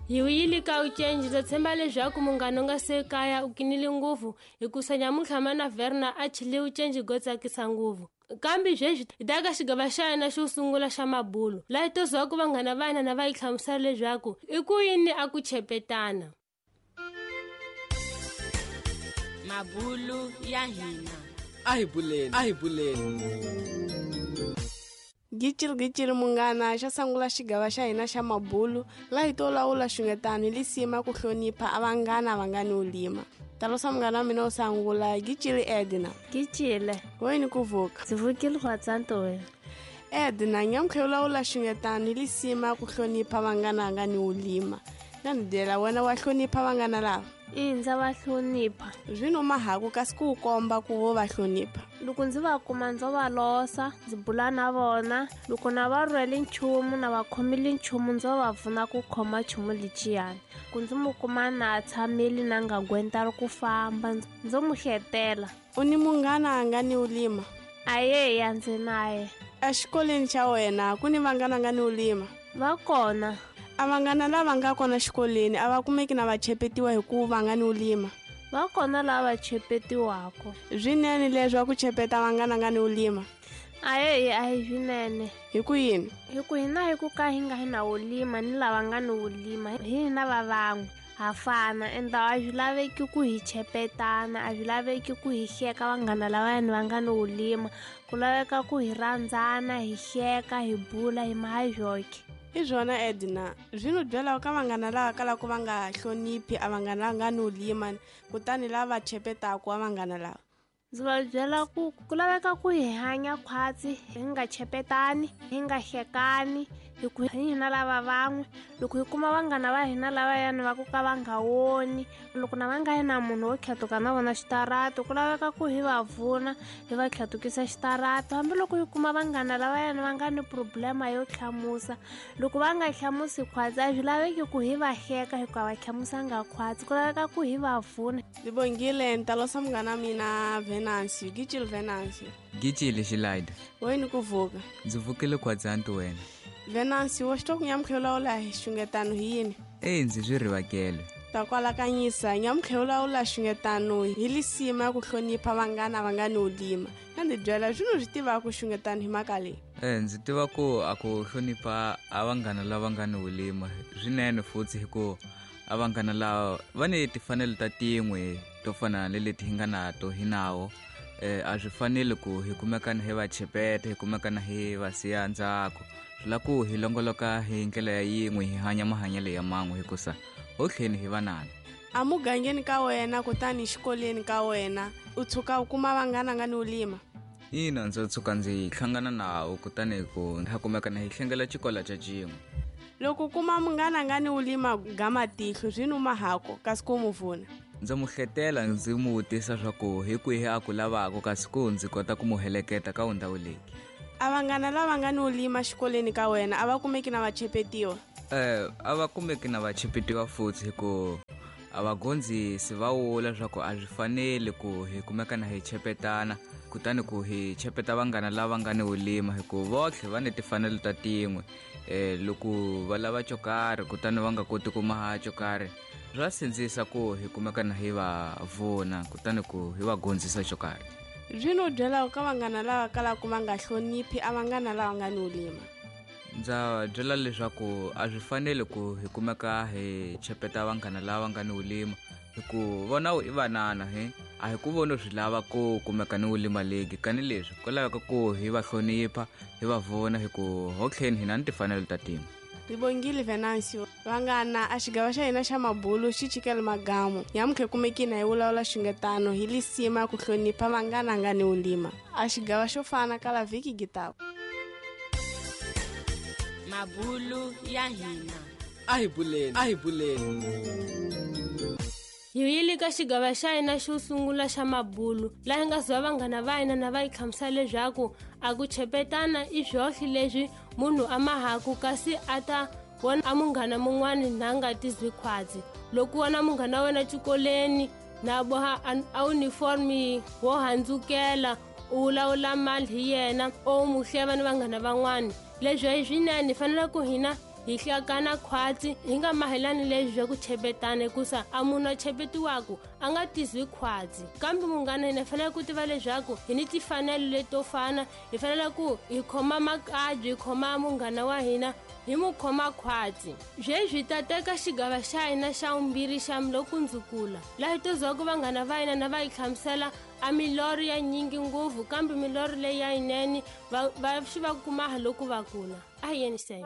Hi wuyile ka ucenji ndza tshemba leswaku munghana u nga se kaya u kinile ngopfu hikusa nyamuntlha mana Verna a chile ucenji go tsakisa ngopfu. Kambe sweswi hi ta ka xigava xa yena xo sungula xa mabulo laha hi to zwaku vanghana va hina na va yi hlamusela leswaku i ku yini a ku chepetana. Mabulu ya hina. A hi buleni, a hi buleni. Gicili gicili munghana xa sungula xigava xa hina xa mabulu laha hi to lawula xungetano hi lisima ku hlonipha a vanghana va nga ni ulima. Talosa munghana wa mina wo sungula gicili Edna. Gicile. Wena ku vuka. Ndzi vukile khwatsanto wena. Edna nyamutlha u lawula xungetano hi lisima ku hlonipha vanghana va nga ni ulima. Na ni byela wena wa hlonipha vanghana lava? I ndza va hlonipha. Zwino mahaku kasi ku komba ku vo va hlonipha. Loko ndzi va kuma ndzo va losa, ndzi bula na vona, loko na va rhwele nchumu na va khomile nchumu ndzo va pfuna ku khoma nchumu lexiyani. Ku ndzi mu kuma na tshamile na nga gwenta ri ku famba, ndzo mu hletela. U ni munghana a nga ni ulima? Ayeya ndzi naye. Exikolweni xa wena ku ni vanghana nga ni ulima? Va kona. A vanghana lava nga kona xikolweni a va kumeki na va chepetiwa hi ku va nga ni ulima? Va kona lava chepetiwaka. Swinene leswi ku chepeta vanghana nga ni ulima? Ayeyi a hi swinene. Hi ku yini? Hi ku hina hi ku ka hi nga hi na ulima ni lava nga ni ulima hi hina va van'we ha fana ende a swi laveki ku hi chepetana, a swi laveki ku hi hleka vanghana lavayani va nga ni ulima. Ku laveka ku hi rhandzana, hi hleka, hi bula, hi maha joke. I swona Edna, zwino byela ka vanghana lava kalaka va nga hloniphi a vanghana nga ni ulima kutani lava chepetaka a vanghana lava. Ndzi va byela ku ku laveka ku hi hanya khwatsi, hi nga chepetani, hi nga hlekani, hi ku hi hina lava van'we. Loko hi kuma vanghana va hina lavayani va ku ka va nga woni, loko na va nga yi na munhu wo tlhatuka na vona xitarata, ku laveka ku hi va pfuna, hi va tlhatukisa xitarata. Hambiloko hi kuma vanghana lavayani va nga ni problema yo hlamusa, loko va nga hlamusi khwatsi a swi laveki ku hi va hleka hikuva va hlamusanga khwatsi, ku laveka ku hi va pfuna. Ndzi bongile ni talosa munghana mina Venancio, Gicile Venancio. Gicile Xilaida. Wena ku vuka. Ndzi vukile khwatsanti wena. Venancio, wa xi twa ku nyamutlha u lawula hi xungetano hi yini? E ndzi swi rivakele. Ta kwalakanyisa nyamutlha u lawula xungetano hi lisima ku hlonipha vanghana va nga ni ulima. Na ndzi byela swino swi tivaka ku xungetano hi mhaka leyi. Ndzi tiva ku a ku hlonipha a vanghana lava nga ni ulima swinene futhi hi ku a vanghana lava va ni timfanelo ta tin'we to fana ni leti hi nga nato hi nawo. A swi faneli ku hi kumekana hi va chepeta, hi kumekana hi va siya ndzhaku. Swi lava ku hi longoloka hi ndlela ya yin'we, hi hanya mahanyelo ya man'we hikusa ho tlheni hi vanana. A mugangeni ka wena kutani xikolweni ka wena u tshuka u kuma vanghana nga ni ulima? Ina, ndzi tshuka ndzi hlangana nawo kutani ku ha kumekana hi hlengela xikolo xa xin'we. Loko u kuma munghana nga ni ulima ga matihlo swi numa hako kasi ku mu pfuna. Ndzi mu hletela ndzi mu vutisa swa ku hi kwihi a ku lavaka kasi ku ndzi kota ku mu heleketa ka ndhawu leyi. A vanghana lava nga ni ulima xikolweni ka wena a va kumeki na va chepetiwa? A va kumeki na va chepetiwa futhi hi ku a va gondzisi va vula swa ku a swi faneli ku hi kumekana hi chepetana kutani ku hi chepeta vanghana lava nga ni ulima hi ku votlhe va ni timfanelo ta tin'we. Loko va lava xo karhi kutani va nga koti ku maha xo karhi swa sindzisa ku hi kumekana hi va vona kutani ku hi va gondzisa xo karhi. Zwino byela ka vanghana lava kalaka va nga hloniphi a vanghana lava nga ni ulima? Ndza byela leswaku a swi faneli ku hi kumeka hi chepeta vanghana lava nga ni ulima hi ku vona i vanana he a hi ku vona swi lava ku kumeka ni ulima legi kani leswi ku laveka ku hi va hlonipha hi va vona hi ku ho tlheni hina ni timfanelo ta tin'we. Ribongile Venancio, vanghana a xigava xa hina xa mabulu xi chikele magamu. Nyamutlha kumekini hi vulavula xungetano hi lisima ku hlonipha vanghana nga ni ulima. A xigava xo fana kala vhiki gitako. Mabulu ya hina. A hi buleni, a hi buleni. Hi yile ka xigava xa hina xo sungula xa mabulu laha hi nga zwa vanghana va hina na va yi hlamusela leswaku a ku chepetana i swohle leswi munhu a mahaku kasi a ta vona a munghana mun'wani na nga tizwi khwatsi. Loko wona munghana wa wena xikolweni na boha a uniform wo handzukela u vulavula mali hi yena o mu hleva ni vanghana van'wani. Leswi hi swinene hi fanele ku hina Hi hlakana khwatsi hi nga mahelani leswi swa ku chepetana, hikusa a munhu a chepetiwaku a nga tizwi khwatsi. Kambe munghana, hina hi fanele ku tiva leswaku hi ni timfanelo leto fana. Hi fanele ku hi khoma makabyi, hi khoma munghana wa hina, hi mu khoma khwatsi. Sweswi hi ta teka xigava xa hina xa vumbirhi xa lokundzukula, laha hi to zwaku vanghana va hina na va hi hlamusela a milorho ya nyingi ngopfu, kambe milorho leyi ya yinene va xi va kumaha loko va kula. A hi yeni se.